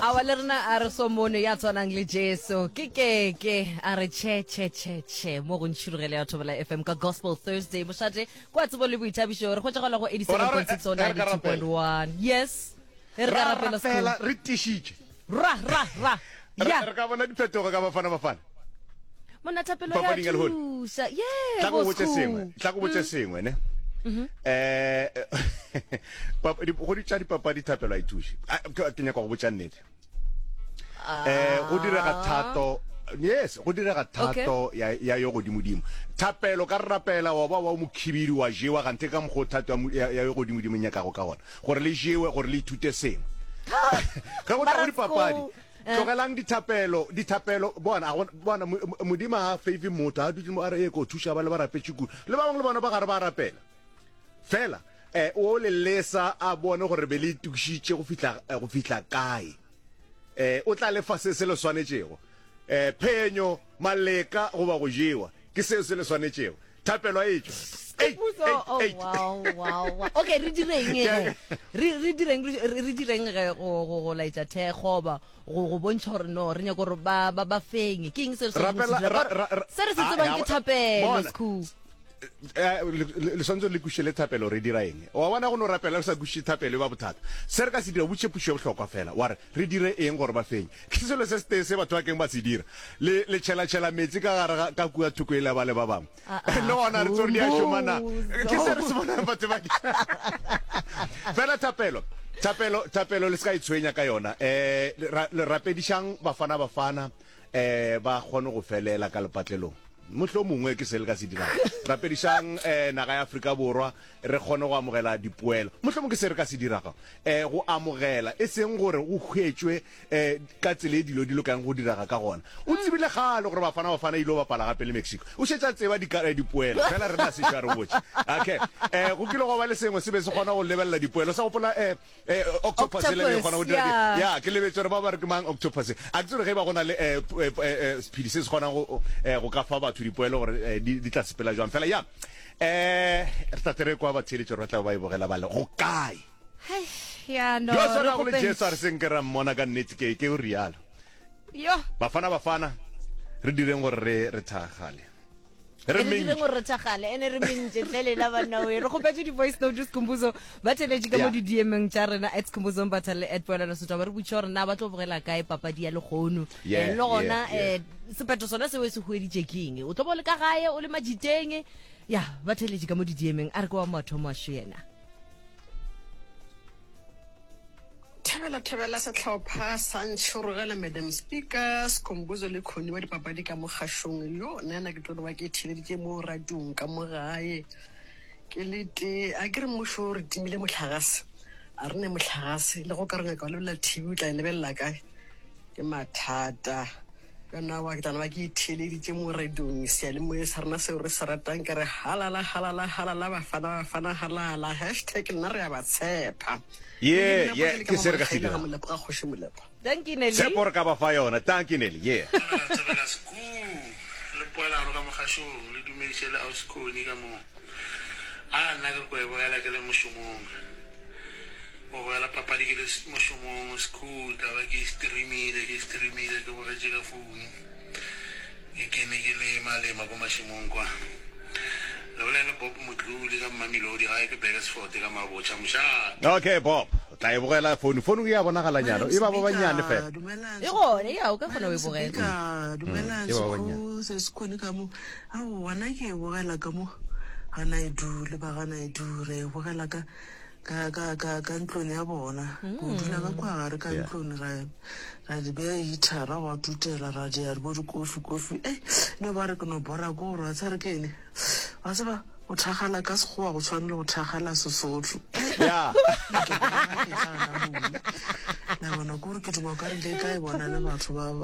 Awa le rena a re somone ya tshwanang le Jesu. Ke ke ke a re che che che che mo go ntšhirogele ya Thobela FM ka Gospel Thursday. Mošate kwa tsebo le boithabišo re hwetšagala go 87.6 o 92.1. Yes. E re ka Ra rapela rapela Sekhukhune. re tišitše. Ra ra ra. Re Ya. re ka bona diphetogo ka Bafana Bafana. Monna thapelo ya Papading ya lehono. thuša. Yeah, Tla go bo botše sengwe, Sekhu. tla go botše sengwe ne. Eh pap- di- go di tša dipapadi thapelo a e thuše. A, ke ke nyaka go botša nnete. Eh go direga thato yes go direga thato ya ya yo godimodimo thapelo ka re rapela wa ba wa mokhibidu wa jewa ganthe ka mokgwa o thato ya mo- ya ya yo godimodimo e nyakago ka gona gore le jewe gore le ithute sengwe ge go tla go dipapadi tlogelang dithapelo dithapelo bona a go- bona Mo- Mo- modimo ga a favor motho a dutse mo a re e ko thuša ba le ba rapetše kudu le ba bangwe le bona ba gare ba rapela fela eh o le lesa a bone gore be le itokišitše go fihla eh, go fihla kae eh o tla le fa se se le swanetšego eh phenyo maleka goba go jewa ke seo se le swanetšego thapelo a etšwa Eight, Puso, eight, oh, eight. wow, wow, wow. okay re direng ge re re direng re re direng ge go go go laetša thekgo ba go go bontšha gore no re nyaka gore ba ba ba fenye ke eng se re swanetšeng go se Rapela- dira? ra- Ka gore ra- ra- se re se Ah, tsebang ya ke go- thapelo bona. Skhu. Eh, le le swanetše le kwešiše le thapelo re dira eng wa bona go no rapela re sa kwešiše thapelo e ba bothata se re ka se dira o botšiše pušo ya bohlokwa fela wa re re dire eng gore ba fenye ke selo se setee se batho ba keng ba se dira le le tšhelatšhela metsi ka gare ga ka kua thoko e le ba le ba bangwe Ah, ah, le gona re tsore di a šoma na ke se re se bonang batho ba fela thapelo thapelo thapelo le se ka itshwenya ka yona eh le rapedišang bafana bafana eh ba kgone go felela ka lepatlelong mohlomongwe mongwe ke se le ka se dirang rapedišang eh naga ya Afrika Borwa re kgone go amogela dipoelo mohlomongwe ke se re ka se dirago eh go amogela e seng gore go hwetšwe eh ka tsela e dilo di lokang go diraga ka gona o tsebile kgale gore Bafana Bafana ile go bapala gape le Mexico o šetše a tseba eh, dipoelo fela rena a sešo a re botše okay eh go kile gwa ba le sengwe se be se kgona go lebelela dipoelo sa gopola eh Eh, octopus e le be kgona go dira yeah. ya ke lebetse gore ba ba re ke mang octopus a ke tsore ge ba go na le eh, eh, eh, sephedi se se kgonang go eh, go ka fa batho dipoelo gore eh, di di tla sepela jwang fela ya eh re tla tle re kwa batheeletši gore ba tla ba e bogela ba le go kae Hai, ya no yo re swanago le kgopeng. jesu a re senke ra mmona ka nnete ke ke o rialo yo bafana bafana re direng gore re re thagale re re direng mentši gore re thakgale ene re mentše tle lela banna we re kgopetše di-voice note Skhumbuzo ba theletše ka mo Yeah. di-dmng tša rena at Skhumbuzo Mbatha le at Poelano Setwa ba re botše gore na ba tlo bogela kae papadi ya lehono Yeah, Eh, le gona yeah, yeah. um sephetho sona seo se hueditše ke eng o tlo bo le ka gae o le majiteng ya ba theletše ka mo di-dmng a re ke wa mathomo a šo yena Thobela thobela sehlopha sa Ntšhorogela Madam Speaker Skhumbuzo le Connie wa dipapadi ka mo kgašong yo nna ke tlo no ba ke theleditše mo radiong ka mo gae ke le tee a ke re mmušo o re timile mohlagase a re ne mohlagase le go ka re nyaka go lebelela TV o tla e lebelela kae ke mathata Yona wa ke tla no ba ke itheeleditše mo radiong seyalemoyeng sa rena seo re se ratang ke re halala halala halala bafana bafana halala hashtag nna re a ba tshepa Ye, Nelly ye, Molepo ke le ka ke mo se re ka se Mokgaila ga dirago. Molepo ga Kgoši Molepo. Dankie Nelly. Tshepo re ka ba fa yona. Dankie Nelly, yeah. Thobela thobela sekuu le poelano ka mogašong le dumediše le ausi Connie ka moo. A nna ke re ko e bogela ke le mošomong. Go bogela papadi ke le mošomong school ka ba ke streamile ke streamile ke bogetše ka phone ke kene ke lema lema ko mašemong kwa le bolele Bob Modluli ka Mamelodi gae ke Burgersfort ka Mabotja mošate. Okay Bob, o tla e bogela phone. Phone e a bonagalanyana, e ba ba bannyane fela. E gone, ya o ka kgona go e bogela. Dumelang, E ba ba bannyane. sekgo se se kgone ka mo. Aowa, nna ke e bogela ka mo ga Naidu le ba ga Naidu re e bogela ka ka ka ka ka ntlong ya bona go dula ka kwa gare ka Yeah. ntlong ra ra di beya heatera gwa tutela ra dia bo dikofi kofi e no ba re ke no bora ko gore wa tsare ke ene wa tseba go thakgala ka sekgowa go tshwane le go thakgala sesotho Yeah. la bona kore ke duma ka re le ka e bona le batho ba ba.